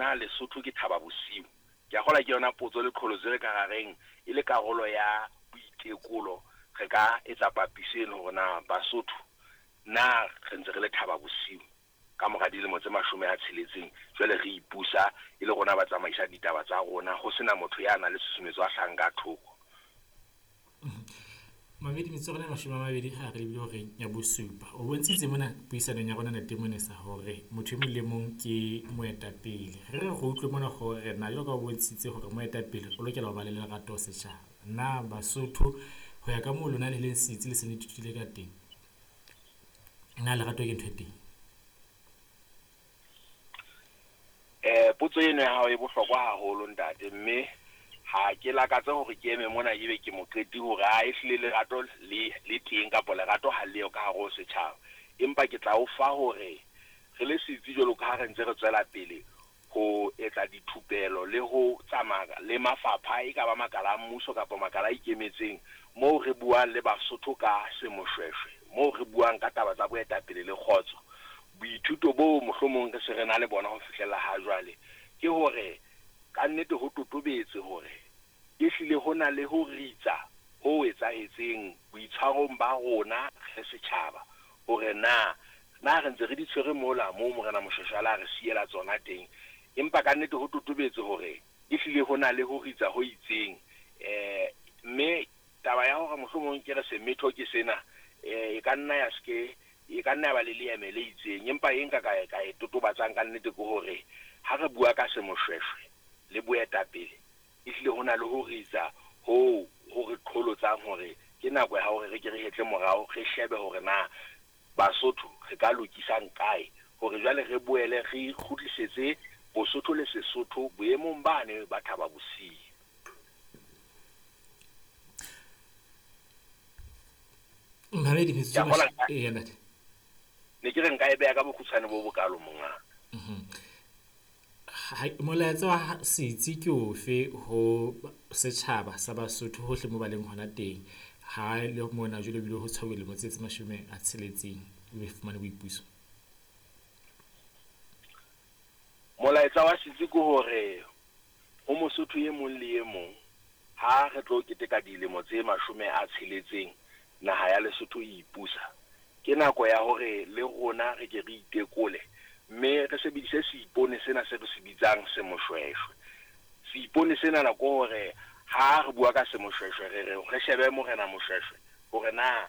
na Lesotho ke Thaba Bosiu? Ke a kgolwa ke yona potso le qholotso e re ka ra reng e le karolo ya boitekolo re ka etsa papiso eno hore na Basotho na re ntse re le Thaba Bosiu ka mora dilemo tse 60 jwale re ipusa e le rona ba tsamaisang ditaba tsa rona ho sena motho ya nang le tshusumetso a hlahang ka thoko. Mamedi metsotso ya rona e 20 ha re lebile horeng ya bosupa. O bontshitse mona puisanong ya rona Ntate Monesa hore motho e mong le mong ke moetapele. Re re re utlwe mona hore na jwalo ka o bontshitse hore moetapele o lokela ho ba le lerato setjhaba. Na Basotho ho ya ka moo lona le leng setsi le se le ithutile ka teng, na lerato ke ntho e teng? Potso eno ya hao e bohlokwa haholo ntate, mme ha ke lakatse hore ke eme mona ebe ke moqeti hore a ehlile lerato le teng kapa lerato ha leo ka hare ho setjhaba. Empa ke tla o fa hore re le setsi jwalo ka ha re ntse re tswela pele ho etsa dithupelo le ho tsamaya le mafapha e ka ba makala a mmuso kapa makala a ikemetseng moo re buang le Basotho ka semoshweshwe, moo re buang ka taba tsa boetapele le kgotso. Boithuto boo mohlomong re se re na le bona ho fihlella ha jwale ke hore ka nnete ho totobetse hore ehlile ho na le ho ritsa ho etsahetseng boitshwarong ba rona re setjhaba hore na na re ntse re di tshwere mola moo Morena Moshweshwe a la re siela tsona teng. Empa ka nnete ho totobetse hore ehlile ho na le ho ritsa ho itseng. Mme taba ya hore mohlomong ke re semetho ke sena, e ka nna ya se e ka nna ya ba le leeme le itseng. Empa e nka ka e totobatsang ka nnete ke hore ha re bua ka semoshweshwe le boetapele, ehlile ho na le ho ritsa ho ho re qholotsang hore ke nako ya hore re ke re hetle morao, re shebe hore na Basotho re ka lokisang kae hore jwale re boele re kgutlisetse Bosotho le Sesotho boemong bane ba Thaba Bosiu. Mamedi metsotso e ntate. Ne ke re nka e beha ka bokgutshwane bo bokalo mongaka. Molaetsa wa setsi ke ofe ho setjhaba sa Basotho hohle moo ba leng hona teng ha le mona jwale ebile ho tshwauwe lemo tse 60 le fumane boipuso? Molaetsa wa setsi ke hore ho Mosotho e mong le e mong ha re tlo keteka dilemo tse 60 naha ya Lesotho e ipusa, ke nako ya hore le rona re ke re itekole mme re sebedise seipone sena se re se bitsang semoshweshwe. Seipone sena ke hore ha re bua ka semoshweshwe re re re shebe Morena Moshweshwe hore na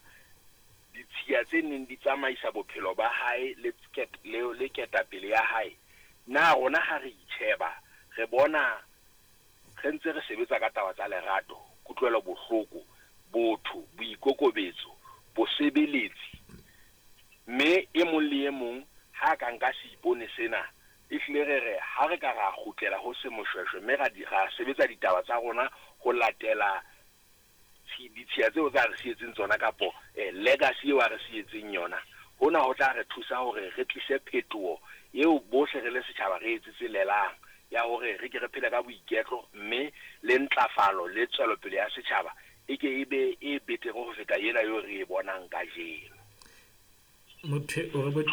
ditshiya tse neng di tsamaisa bophelo ba hae le ketapele ya hae, na rona ha re itjheba re bona re ntse re sebetsa ka taba tsa lerato, kutlwelo bohloko, botho, boikokobetso, bosebeletsi. Mme e mong le e mong ha ka nka seipone sena, ehlile re re ha re ka ra kgutlela ho semoshweshwe mme ra sebetsa ditaba tsa rona ho latela ditshiya tseo tsa re sietseng tsona kapo legacy eo a re sietseng yona, hona ho tla re thusa hore re tlise phetoho eo bohle re le setjhaba re etsetselelang ya hore re ke re phele ka boiketlo mme le ntlafalo le tswelopele ya setjhaba e ke e be e betere ho feta ena eo re e bonang kajeno. Motho o re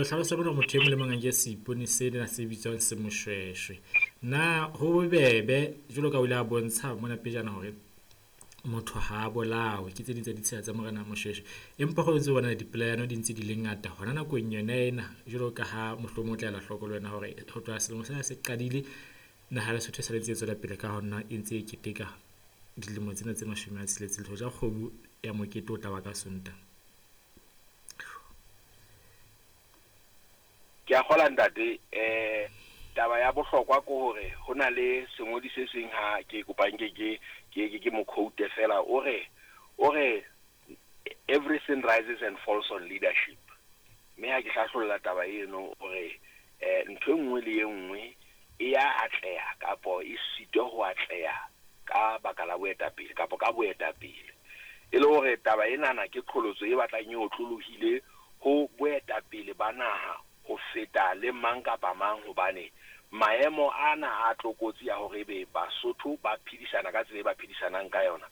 hlalosa mona motho e mong le mong a nke seipone sena se bitswang semoshweshwe. Na ho bobebe jwalo ka o ile a bontsha mona pejana hore motho ha a bolawe ke tse ding tsa ditsela tsa Morena Moshweshwe, empa ho ntse bona dipolayano di ntse di le ngata hona nakong yona ena, jwalo ka ha mohlomong o tla ela hloko le wena hore ho tloha selemo sena se qadile naha ya Lesotho e sale ntse e tswela pele ka hona e ntse e keteka dilemo tsena tse 60 le hoja kgomo ya mokete o tla ba ka Sontaha. Ke a kgola ntate, taba ya bohlokwa ke hore ho na le sengodi se seng ha ke kopang ke mo quote fela, o re everything rises and falls on leadership. Mme ha ke hlahlolla taba eno o re ntho e nngwe le e nngwe e ya atleha kapo e sitwa ho atleha ka baka la boetapele kapo ka boetapele. E le hore taba enana ke qholotso e batlang e otlolohile ho boetapele ba naha ho feta le mang kapa mang, hobane maemo ana a tlokotsi ya hore ebe Basotho ba phedisana ka tsela e ba phedisanang ka yona,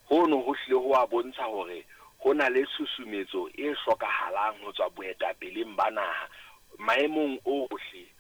hono ho hlile ho a bontsha hore ho na le tshusumetso e hlokahalang ho tswa boetapeleng ba naha maemong ohle.